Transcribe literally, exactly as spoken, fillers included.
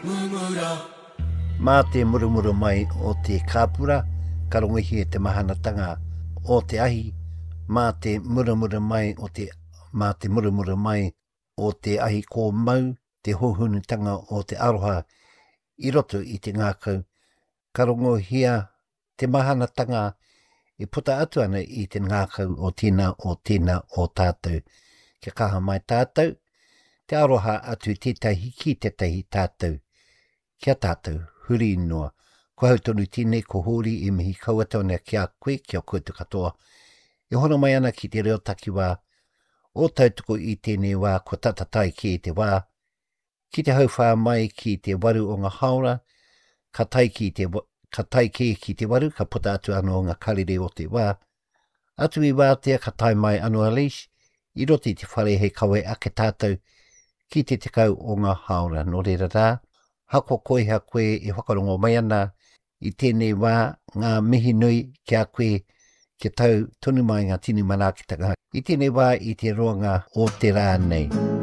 Mumura. Mā te murumuru mai o te kāpura, ka rongohia te mahanatanga o te ahi, mā te muramura mai o te, mā te muramura mai o te ahi kōmau, te hōhonutanga o te aroha i roto i te ngākau, ka rongohia te mahanatanga e puta atu ana i te ngākau o tēnā o tēnā o tātou. Kia kaha mai tātou, te aroha atu tētahi ki tētahi tātou, kia tātou, huri noa. Ko hau tonu tēnei, ko Hōri e mihi kau atu ana ki a koe, ki a koutou katoa. E hono mai ana ki te reo takiwā o tautoko i tēnei wā, kua tata tae ki te wā, ki te hauwhā mai ki te waru o ngā haora, ka tae ki te, ka tae kē ki te waru, ka puta atu anō ngā karere o te wā. Atu i wātea ka tae mai anō a Leish, i roto i te whare hei kawe ake tātou ki te tekau o ngā haora. Nō reira rā, hako koiha koe e whakarongo mai ana i tēnei wā, ngā mihi nui ki a koe, kia tau tonu mai ngā tini manaakitanga. I tēnei wā i te roanga o te rā nei.